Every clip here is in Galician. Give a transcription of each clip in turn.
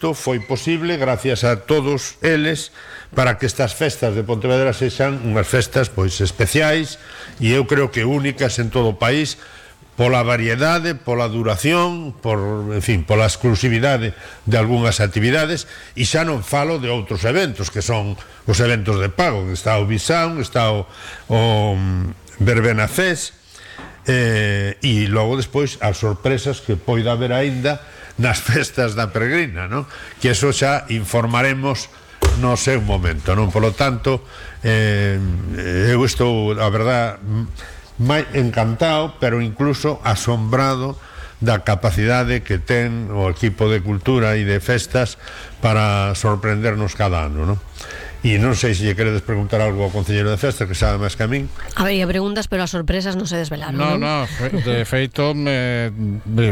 foi posible gracias a todos eles para que estas festas de Pontevedra sexan unhas festas pois especiais e eu creo que únicas en todo o país pola variedade, pola duración, en fin, pola exclusividade de algunhas actividades, e xa non falo de outros eventos que son os eventos de pago, que está o Bisound, está o Verbena Fest, e logo despois as sorpresas que poida haber aínda nas festas da Peregrina, non? Que eso xa informaremos no seu momento, non? Por lo tanto, eu estou, a verdad, encantado, pero incluso asombrado da capacidade que ten o equipo de cultura e de festas para sorprendernos cada ano, non? E non sei se lle queredes preguntar algo ao concelleiro de festas, que sabe máis que a min. Habría preguntas, pero as sorpresas non se desvelaron. No, de feito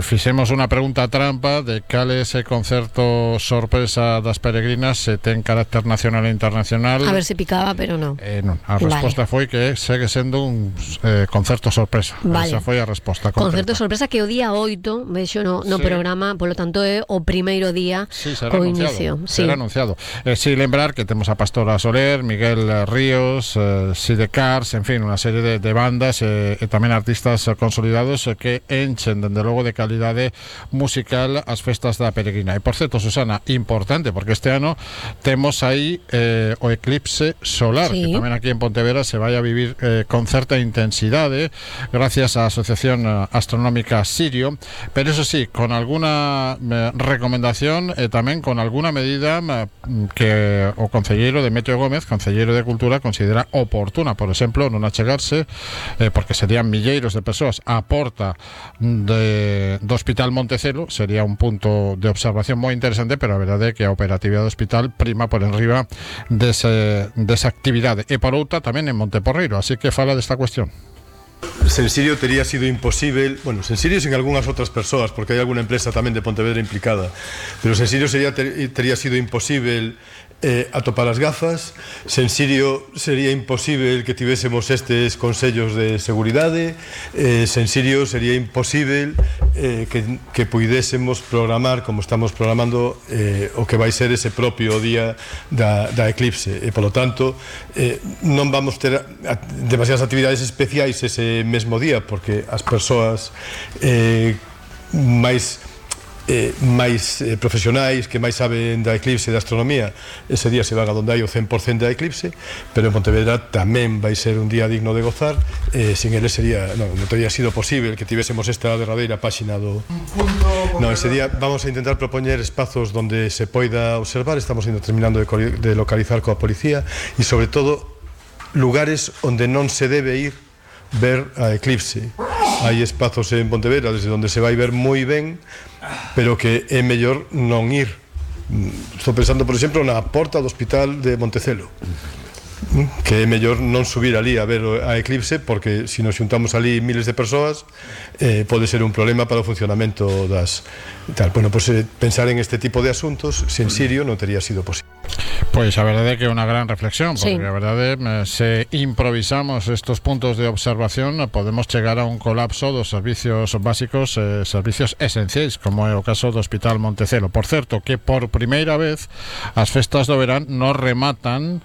fixemos unha pregunta trampa de cal é ese concerto sorpresa das peregrinas, se ten carácter nacional e internacional. A ver se picaba, pero non. Non, a resposta foi que segue sendo un concerto sorpresa. Esa foi a resposta concreta. Concerto sorpresa que o día 8 vexo no programa, polo tanto é o primeiro día co inicio. Será anunciado. Si lembrar que temos a Pastora Soler, Miguel Ríos, Sidecars, en fin, unha serie de bandas e tamén artistas consolidados que enchen, dende logo, de calidade musical as festas da Peregrina. E, por certo, Susana, importante, porque este ano temos aí o eclipse solar, que tamén aquí en Pontevedra se vai a vivir con certa intensidade gracias á Asociación Astronómica Sirio, pero eso sí, con alguna recomendación e tamén con alguna medida que o concelleiro Demetrio Gómez, concelleiro de Cultura, considera oportuna, por exemplo, non achegarse, porque serían milleiros de persoas á porta do Hospital Montecelo. Sería un punto de observación moi interesante, pero a verdade é que a operatividade do hospital prima por enriba desa actividade. E por outra tamén en Monteporreiro, así que fala desta cuestión. Sen Sirio tería sido imposible, bueno, sen Sirio sin algunhas outras persoas, porque hai algunha empresa tamén de Pontevedra implicada, pero sen Sirio tería sido imposible atopar as gafas. Sen Sirio sería imposible que tivésemos estes consellos de seguridade. Sen Sirio sería imposible que puidésemos programar como estamos programando o que vai ser ese propio día da eclipse, e polo tanto non vamos ter demasiadas actividades especiais ese mesmo día, porque as persoas máis profesionais que máis saben da eclipse e da astronomía, ese día se van a donde hai o 100% da eclipse, pero en Pontevedra tamén vai ser un día digno de gozar. Sin ele non teria sido posible que tivésemos esta derradeira páxina do... ese día vamos a intentar propoñer espazos donde se poida observar. Estamos terminando de localizar coa policía, e sobre todo lugares onde non se debe ir ver a eclipse. Hai espazos en Pontevedra desde onde se vai ver moi ben, pero que é mellor non ir. Estou pensando, por exemplo, na porta do Hospital de Montecelo, que é mellor non subir ali a ver a eclipse, porque se nos xuntamos ali miles de persoas pode ser un problema para o funcionamento das tal. Bueno, pues pensar en este tipo de asuntos sen Sirio non tería sido posible. Pois a verdade é que é unha gran reflexión, porque a verdade se improvisamos estos puntos de observación podemos chegar a un colapso dos servicios básicos, servicios esenciais, como é o caso do Hospital Montecelo. Por certo, que por primeira vez as festas do verán non rematan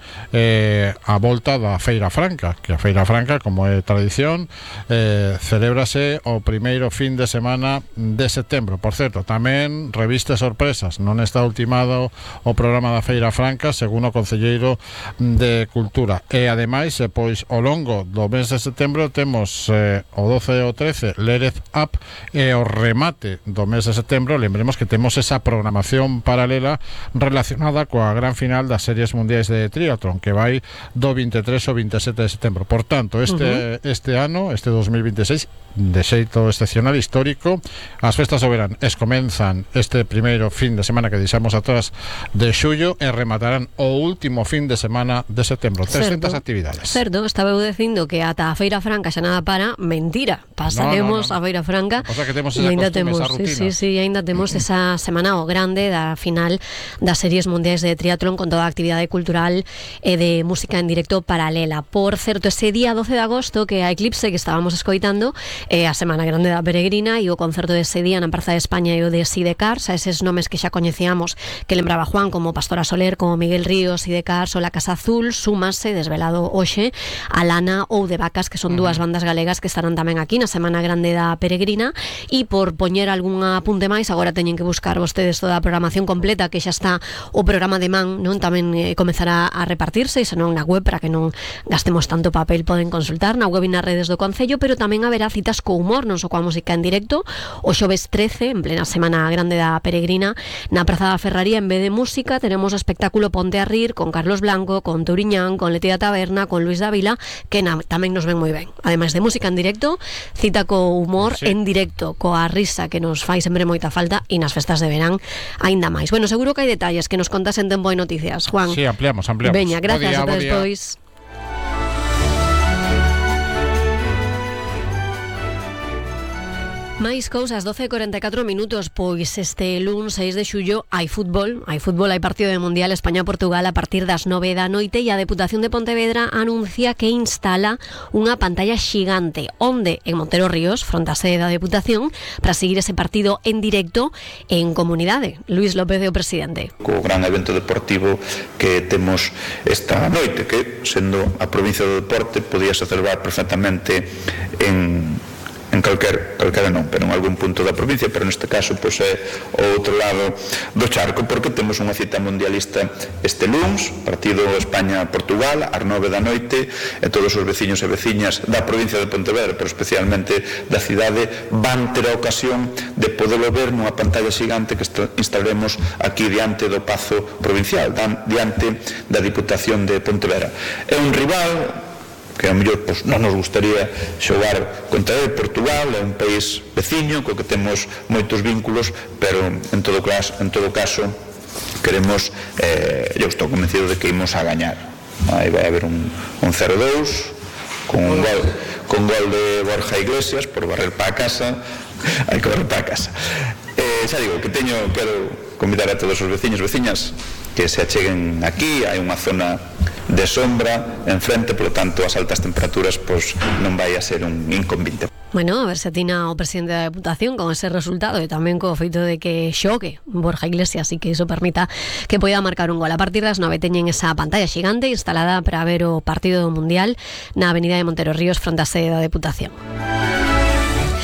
a volta da Feira Franca, que a Feira Franca, como é tradición, celébrase o primeiro fin de semana de setembro. Por certo, tamén reviste sorpresas, non está ultimado o programa da Feira Franca, según o concelleiro de Cultura. E ademais, pois ao longo do mes de setembro temos o 12 e o 13 Lérez Up, e o remate do mes de setembro lembremos que temos esa programación paralela relacionada coa gran final das series mundiais de triatlón, que vai do 23 ao 27 de setembro. Por tanto, este ano, este 2026, de xeito excepcional, histórico, as festas do verán comenzan este primeiro fin de semana que deixamos atrás de xullo e rematarán o último fin de semana de setembro. 300 actividades. Certo, estaba eu dicindo que ata a Feira Franca xa nada para, mentira, pasaremos a Beira Franca. O sea que temos esa costume, esa rutina. Sí, ainda temos esa semana o grande da final das series mundiais de triatlón con toda a actividade cultural e de música en directo paralela. Por certo, ese día 12 de agosto que a Eclipse que estábamos escoitando a semana grande da Peregrina e o concerto dese día na Praza de España e o de Sidecars, a eses nomes que xa coñecíamos que lembraba Juan, como Pastora Soler, como Miguel Ríos, Sidecars ou La Casa Azul, súmase desvelado hoxe a Lana ou de Vacas, que son dúas bandas galegas que estarán tamén aquí na semana grande da Peregrina. E por poñer algún apunte máis, agora teñen que buscar vostedes toda a programación completa, que xa está o programa de man, non? Tamén comezará a repartirse, e senón na web, para que non gastemos tanto papel, poden consultar na web e nas redes do Concello, pero tamén haberá citas co humor, non só coa música en directo. O xoves 13, en plena semana grande da Peregrina, na Praza da Ferraría, en vez de música, tenemos o espectáculo Ponte a Rir, con Carlos Blanco, con Touriñán, con Leti da Taberna, con Luis Dávila, que tamén nos ven moi ben. Ademais de música en directo, cita co humor en directo, coa risa, que nos fai sempre moita falta, e nas festas de verán aínda máis. Bueno, seguro que hai detalles que nos contas en Tempo de Noticias, Juan. Sí, ampliamos. Veña, gracias, ata despois. Máis cousas, 12:44 minutos. Pois este luns 6 de xullo hai fútbol, hai partido de Mundial España-Portugal a partir das 9 da noite, e a Deputación de Pontevedra anuncia que instala unha pantalla xigante onde en Montero Ríos, fronte á sede da Deputación, para seguir ese partido en directo en comunidade. Luis López é o presidente. Co gran evento deportivo que temos esta noite, que sendo a provincia do deporte podíase celebrar perfectamente en calquera non, pero en algún punto da provincia, pero neste caso pois é o outro lado do charco, porque temos unha cita mundialista este luns, partido España-Portugal ás 9 da noite, e todos os veciños e veciñas da provincia de Pontevedra, pero especialmente da cidade, van ter a ocasión de poderlo ver nunha pantalla xigante que instalemos aquí diante do Pazo Provincial, diante da Diputación de Pontevedra. É un rival que a mellor pois, non nos gustaría xogar contra ele. Portugal é un país veciño co que temos moitos vínculos, pero en todo caso queremos, eu estou convencido de que imos a gañar. Aí vai haber un 0-2 con gol de Borja Iglesias por barrer para a casa. Hai que barrer para a casa. Xa digo, quero convidar a todos os veciños e veciñas que se acheguen aquí. Hai unha zona de sombra enfrente, polo tanto as altas temperaturas pois non vai a ser un inconveniente. Bueno, a ver se atina o presidente da Deputación con ese resultado, e tamén co feito de que xogue Borja Iglesias e que iso permita que poida marcar un gol. A partir das 9 teñen esa pantalla xigante instalada para ver o partido do Mundial na avenida de Montero Ríos, fronte á sede da Deputación.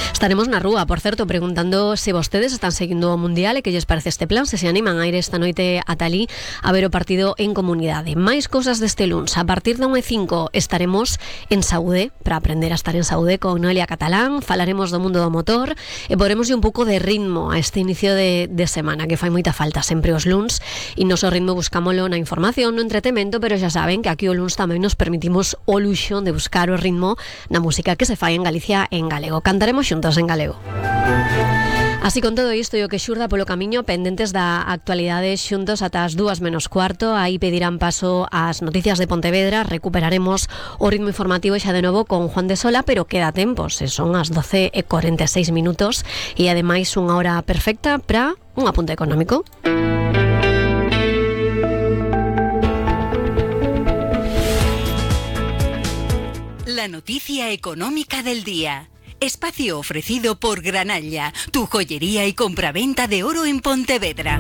Estaremos na rúa, por certo, preguntando se vostedes están seguindo o Mundial e que lles parece este plan, se animan a ir esta noite a Talí a ver o partido en comunidade. Máis cousas deste luns. A partir da 1:05 estaremos en Saúde, para aprender a estar en Saúde con Noelia Catalán, falaremos do mundo do motor e poremos un pouco de ritmo a este inicio de semana, que fai moita falta sempre os luns, e noso ritmo buscámolo na información, no entretemento, pero xa saben que aquí o luns tamén nos permitimos o luxo de buscar o ritmo na música que se fai en Galicia en galego. Cantaremos xuntos en galego. Así, con todo isto e o que xurda polo camiño, pendentes da actualidade, xuntos ata as 2:15, aí pedirán paso ás noticias de Pontevedra. Recuperaremos o ritmo informativo xa de novo con Juan de Sola, pero queda tempo, se son as 12:46 minutos, e ademais unha hora perfecta para un apunte económico. La noticia económica del día. Espacio ofrecido por Granalla, tu joyería y compraventa de oro en Pontevedra.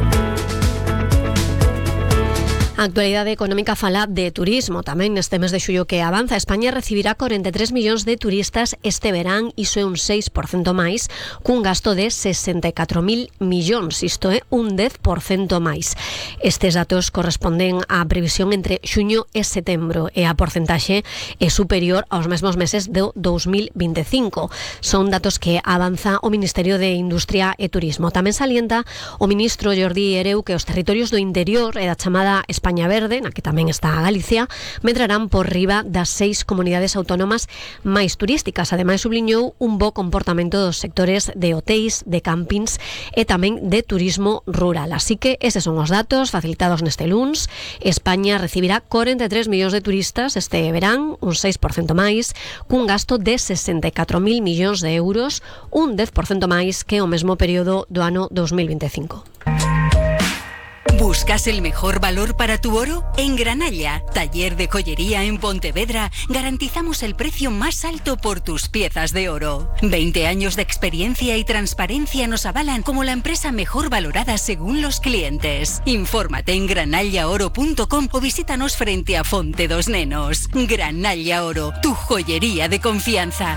A actualidade económica fala de turismo. Tamén neste mes de xullo que avanza, España recibirá 43 millóns de turistas este verán, iso é un 6% máis, cun gasto de 64.000 millóns, isto é un 10% máis. Estes datos corresponden á previsión entre xuño e setembro, e a porcentaxe é superior aos mesmos meses do 2025. Son datos que avanza o Ministerio de Industria e Turismo. Tamén salienta o ministro Jordi Hereu que os territorios do interior e da chamada España España Verde, na que tamén está Galicia, medrarán por riba das 6 comunidades autónomas máis turísticas. Ademais, subliñou un bo comportamento dos sectores de hotéis, de campings e tamén de turismo rural. Así que eses son os datos facilitados neste luns. España recibirá 43 millóns de turistas este verán, un 6% máis, cun gasto de 64.000 millóns de euros, un 10% máis que o mesmo período do ano 2025. ¿Buscas el mejor valor para tu oro? En Granalla, taller de joyería en Pontevedra, garantizamos el precio más alto por tus piezas de oro. 20 años de experiencia y transparencia nos avalan como la empresa mejor valorada según los clientes. Infórmate en granallaoro.com o visítanos frente a Fonte dos Nenos. Granalla Oro, tu joyería de confianza.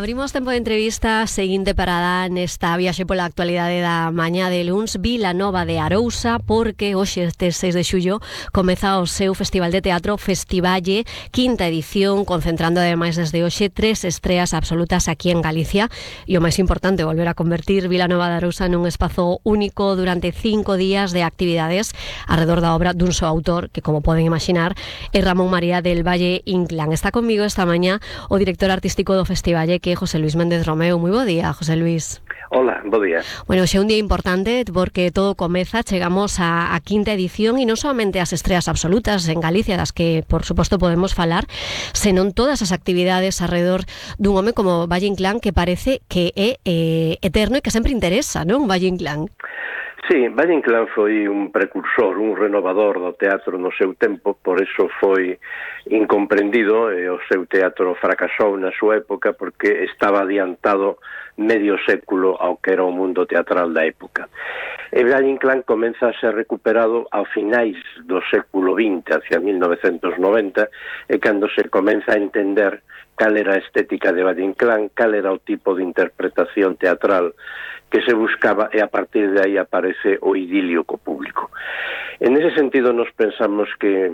Abrimos tempo de entrevista seguinte parada nesta viaxe pola actualidade da mañá de luns, Vilanova de Arousa, porque hoxe este 6 de xullo comeza o seu Festival de Teatro Festivalle, quinta edición, concentrando ademais desde hoxe 3 estreas absolutas aquí en Galicia, e o máis importante, volver a convertir Vilanova de Arousa nun espazo único durante 5 días de actividades alrededor da obra dun só autor, que como poden imaginar é Ramón María del Valle Inclán. Está conmigo esta mañá o director artístico do Festivalle, que José Luis Méndez Romeu. Moi bo día, José Luis. Hola, bo día. Bueno, xe é un día importante porque todo comeza, chegamos a quinta edición e non solamente as estreas absolutas en Galicia, das que, por suposto, podemos falar, senón todas as actividades alrededor dun home como Valle Inclán, que parece que é eterno e que sempre interesa, non, Valle Inclán? Sí, Valle Inclán foi un precursor, un renovador do teatro no seu tempo, por eso foi incomprendido e o seu teatro fracasou na súa época porque estaba adiantado medio século ao que era o mundo teatral da época. E Valle Inclán comeza a ser recuperado ao finais do século XX, hacia 1990, e cando se comeza a entender cal era a estética de Valle Inclán, cal era o tipo de interpretación teatral que se buscaba, e a partir de aí aparece o idilio co público. En ese sentido, nos pensamos que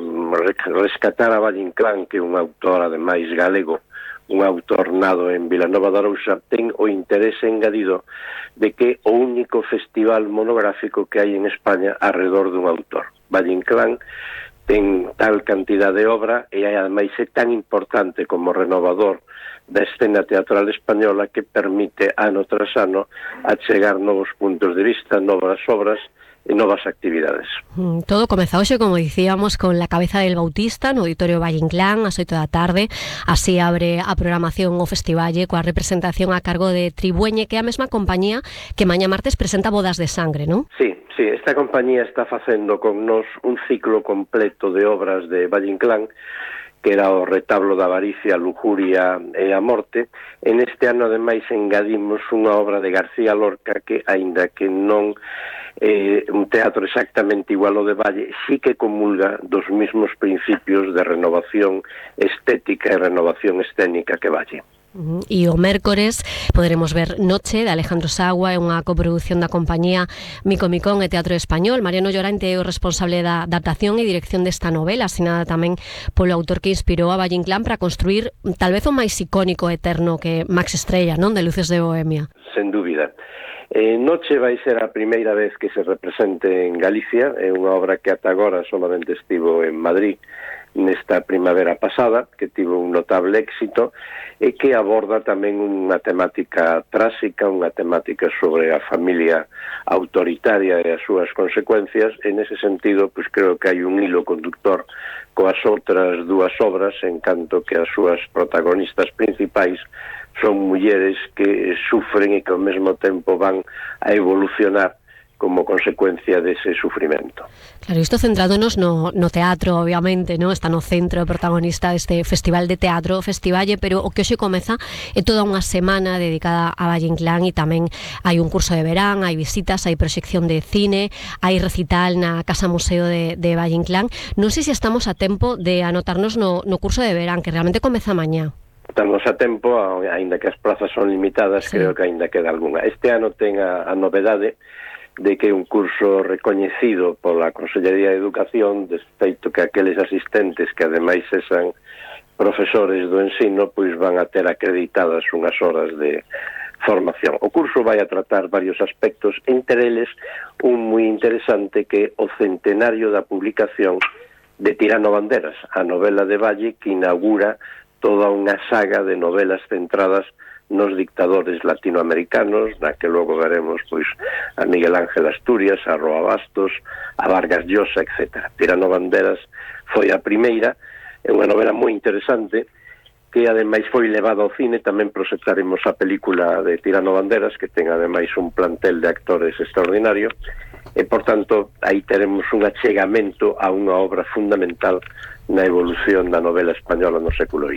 rescatar a Valle Inclán, que é un autor, ademais, galego, un autor nado en Vilanova de Arousa, ten o interese engadido de que o único festival monográfico que hai en España alrededor dun autor. Valle Inclán ten tal cantidad de obra e ademais é tan importante como renovador da escena teatral española que permite ano tras ano achegar novos puntos de vista, novas obras e novas actividades. Todo comeza hoxe, como dicíamos, con La Cabeza del Bautista no Auditorio Valle Inclán, ás 8 da tarde. Así abre a programación o Festivalle coa representación a cargo de Tribueñe, que é a mesma compañía que mañá martes presenta Bodas de Sangre, non? Sí, esta compañía está facendo con nos un ciclo completo de obras de Valle Inclán, que era o Retablo da Avaricia, a Lujuria e a Morte. En este ano, ademais, engadimos unha obra de García Lorca que, aínda que non un teatro exactamente igual ao de Valle, sí que comulga dos mismos principios de renovación estética e renovación escénica que Valle. E o mércores poderemos ver Noche, de Alejandro Sagua, é unha coproducción da compañía Mico Micón e Teatro Español. Mariano Llorente é o responsable da adaptación e dirección desta novela, asinada tamén polo autor que inspirou a Valle Inclán para construir tal vez o máis icónico e eterno que Max Estrella, non? De Luces de Bohemia. Sen dúbida. Noche vai ser a primeira vez que se represente en Galicia, é unha obra que ata agora solamente estivo en Madrid nesta primavera pasada, que tivo un notable éxito e que aborda tamén unha temática tráxica, unha temática sobre a familia autoritaria e as súas consecuencias. En ese sentido, pois creo que hai un hilo conductor coas outras dúas obras, en canto que as súas protagonistas principais son mulleres que sufren e que ao mesmo tempo van a evolucionar como consecuencia dese sufrimento. Claro, isto centrándonos no teatro, obviamente, non? Está no centro protagonista deste Festival de Teatro Festivalle, pero o que hoxe comeza é toda unha semana dedicada a Valle Inclán e tamén hai un curso de verán, hai visitas, hai proxección de cine, hai recital na Casa Museo de Valle Inclán. Non sei se estamos a tempo de anotarnos no curso de verán, que realmente comeza mañá. Estamos a tempo, aínda que as plazas son limitadas, sí. Creo que aínda queda algunha. Este ano ten a novedade de que é un curso recoñecido pola Consellería de Educación, de feito que aqueles asistentes que ademais sean profesores do ensino pois van a ter acreditadas unhas horas de formación. O curso vai a tratar varios aspectos, entre eles un moi interesante que é o centenario da publicación de Tirano Banderas, a novela de Valle que inaugura toda unha saga de novelas centradas nos dictadores latinoamericanos, na que logo veremos pois a Miguel Ángel Asturias, a Roa Bastos, a Vargas Llosa, etc. Tirano Banderas foi a primeira, é unha novela moi interesante que ademais foi levada ao cine. Tamén proxectaremos a película de Tirano Banderas, que ten ademais un plantel de actores extraordinario, e por tanto aí teremos un achegamento a unha obra fundamental na evolución da novela española no século XX.